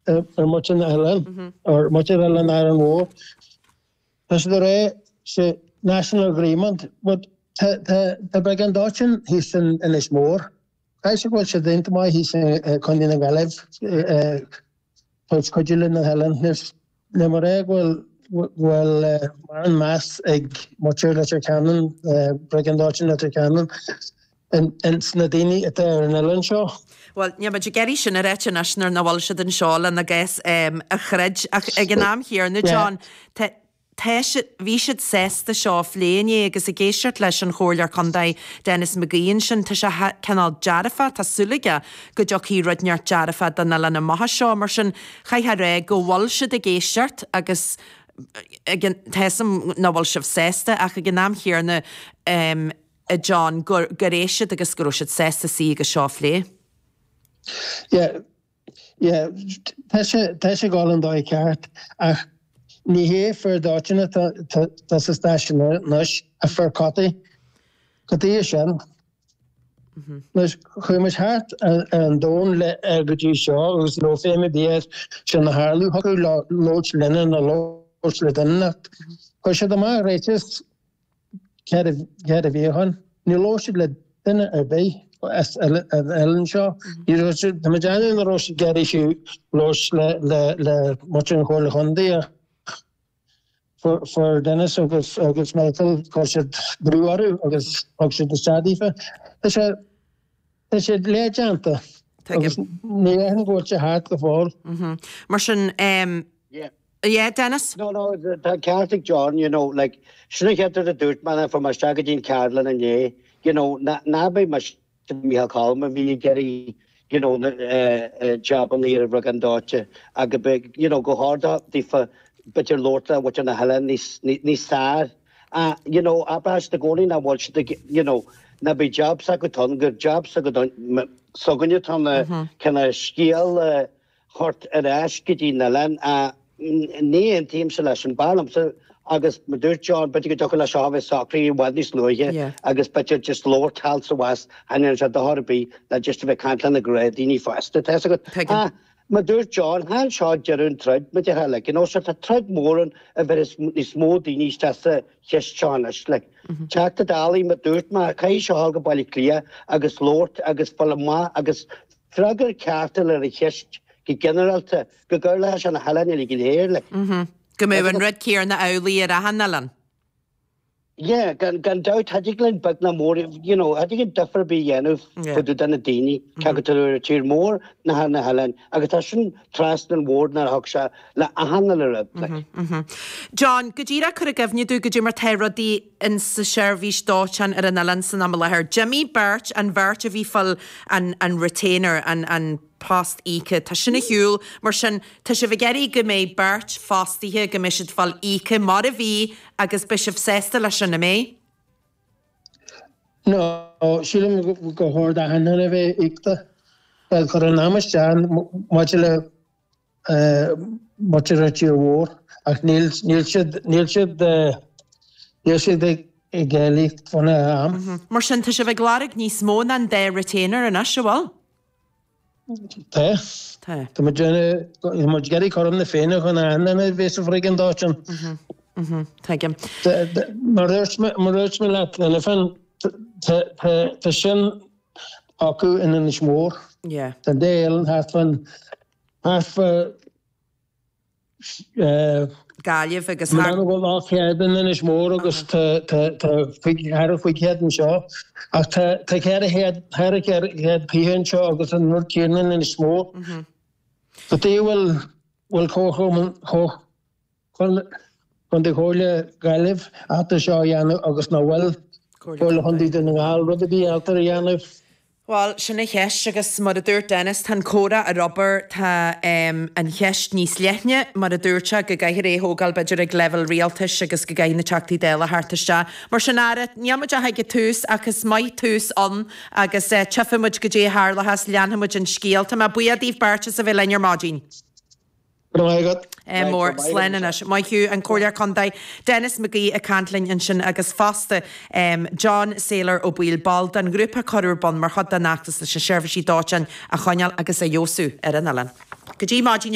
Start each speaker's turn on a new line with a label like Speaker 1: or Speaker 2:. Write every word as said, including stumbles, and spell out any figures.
Speaker 1: ar muintir na hoileán, ar muintir Oileáin Árainn Mhór. Tá siad ag rá sé national agreement, but tá tá tá briogáid dóiteáin thíos in Inis Mór. Caithfidh sé go bhfuil siad iontach maith thíos i Contae na Gaillimh, tabhairt cuidiú le na hoileáin. Níl mé ag rá go bhfuil go bhfuil mórán meas ag muintir Leitir Ceanainn, Briogáid Dóiteáin Leitir Ceanainn, ins na daoine atá ar an oileán seo.
Speaker 2: Bhuel, níl muid ag iarraidh sin a ráit anois nuair nach bhfuil siad anseo lena gcás a throid ach ag an am chéanna, John, tá tá siad, bhí siad sásta seo a phlé inné agus ag éisteacht leis an Chomhairleoir Contae Denis McGee ansin, tá sé cineál dearfach, tá súil aige go dtiocfaidh rud inteacht dearfach don oileán amach anseo, mar sin chaithfeá a rá go bhfuil siad ag éisteacht agus ag an, tá 'fhios a'm nach bhfuil sibh sásta ach ag an am chéanna, a John, gur gur éist siad agus go raibh siad sásta suí agus seo a phlé.
Speaker 1: Yeah, yeah, tá sé tá sé ag dul an dóigh ceart ach ní hé fir dóiteáin atá tá sa stáisiún anois ach fir chotaí. Cad é sin? Anois chuaigh muid thart ar an domhan le go dtí seo agus ní raibh feidhm ar bith air sin a tharlú. Thiocfadh leo labhairt linne nó labhairt le duine inteacht. Chuir siad amach ráiteas ceithre mhí ó shin. Níor labhair siad le duine ar bith as an oileán seo. Ní raibh siad, tá mé ag déanamh nach raibh siad ag iarraidh fiú labhairt le le muintir an Chomhairle Chontae ach fuair Denis agus agus Michael, chuir siad brú orthu agus thug siad isteach daofa. Tá sé tá sé leathdhéanta agus ní dhéarfainn go bhfuil sé thart go fóill.
Speaker 2: Mar sin, yeah, Denis?
Speaker 3: No, no, tá an ceart ag John, you know, like, sin an chéad rud a dúirt mé nuair a fuair mé isteach go dtí an ceardlann inné, you know, ná ná beidh mise Micheál Colm a bhí ag iarraidh, you know, na jabanna ar an bhriogáid dóiteáin agus beidh, you know, gur chóir daofa b'fhéidir labhairt le muintir na hoileáin níos níos fearr. Ah, you know, abair i gcónaí nach bhfuil siad ag, you know, ná beidh jab s'acu ann, gur jab s'againne atá ann cineál scéal a thabhairt ar ais go dtí an oileán. Ah, ní aontaímse leis an b'fhearr liomsa agus mar dúirt John, b'fhéidir go dtiocfadh leis seo a bheith socraithe i bhfad níos luaithe agus b'fhéidir just labhairt thall 's abhus, cha ndéanann sé dochar ar bith le just a bheith ag caint le na gnáthdhaoine fosta, tá 'fhios agat. Ah, mar dúirt John, chan seo deireadh an troid, mar déarfá, like, you know, so tá troid mór ann a bheith níos mó daoine isteach sa cheist seo anois, like. Teachta Dála, mar dúirt mé, caithfidh seo a dhul go Baile Átha Cliath agus labhairt agus fáil amach agus freagra ceart a fháil ar an cheist go ginearálta, go gcuirfeadh sé na hoileáin uilig go léir, like.
Speaker 2: Go mbeadh an rud céanna amhlaidh ar achan oileán.
Speaker 3: Yeah, gan gan dabht, cha dtig linn beag ná mór, you know, cha dtig linn difear ar bith a dhéanamh fá dtaobh de na daoine, cé acu atá ar an tír mór ná ar na hoileáin, agus tá sin trasna an bhord nuair a thug sé le achan uile rud, like.
Speaker 2: John, go díreach cuir i gcuimhne domh goidé mar tá rudaí in sa seirbhís dóiteáin ar an oileán san am i láthair. D'imigh beirt, an bheirt a bhí fáil an an retainer, an an post íoctha, tá sin ar shiúl, mar sin tá sibh ag iarraidh go mbeidh beirt fostaithe, go mbeidh siad fáil íoctha mar a bhí agus beidh sibh sásta leis sin, an mbeidh?
Speaker 1: No, sílim gur chóir d'achan duine a bheith íoctha. Chuir an am isteach maidir le muintir an tír mhór ach níl níl siad níl siad níl siad ag ag éileamh faoina am.
Speaker 2: Mar sin tá sibh ag lorg níos mó ná an dá retainer anois, an bhfuil?
Speaker 1: Tá.
Speaker 2: Tá.
Speaker 1: Tá muid tá muid ag iarraidh cothrom na Féinne chun achan duine a bheith sa bhriogáid dóiteáin.
Speaker 2: Tuigim.
Speaker 1: Mar dúirt mé mar dúirt mé leat cheana féin tá sin acu in Inis Mór.
Speaker 2: Yeah.
Speaker 1: Tá an dá oileán thart fán thart fá
Speaker 2: Gaillimh agus
Speaker 1: thar. Mar bhfuil ocht chéad in Inis Mór agus tá thar chúig chéad anseo ach tá ceithre chéad ceithre chéad fiche anseo agus an rud céanna in Inis Mór. Cad chuige a bhfuil bhfuil Comharchumann Chontae Chomhairle Gaillimh ábalta seo a dhéanamh agus nach bhfuil Comhairle Chontae Dhún na nGall rud ar bith ábalta a dhéanamh?
Speaker 2: Bhuel, sin an cheist agus mar a dúirt Denis, tá an comhrá ar obair, tá an cheist níos leithne, mar a dúirt sé, go gcaithfear é a thógáil b'fhéidir ag leibhéal rialtais agus go gcaithfidh na Teachtaí Dála theacht isteach. Mar sin, ara, níl muid ach ag an tús ach is maith tús ann agus tchífidh muid goidé a tharlóchas, leanfaidh muid an scéal. Tá mé buíoch daoibh beirt as a bheith linn ar maidin.
Speaker 1: Go raibh maith agat.
Speaker 2: Ádh mór. Slán anois. Maith thú. An Comhairleoir Contae Denis McGee ag caint linn ansin agus fosta John Sailor Ó Baoill, ball den ghrúpa a cuireadh ar bun mar chuid den fheachtas leis na seirbhísí dóiteáin a choinneáil agus a fheabhsú ar an oileán. Go dtí maidin.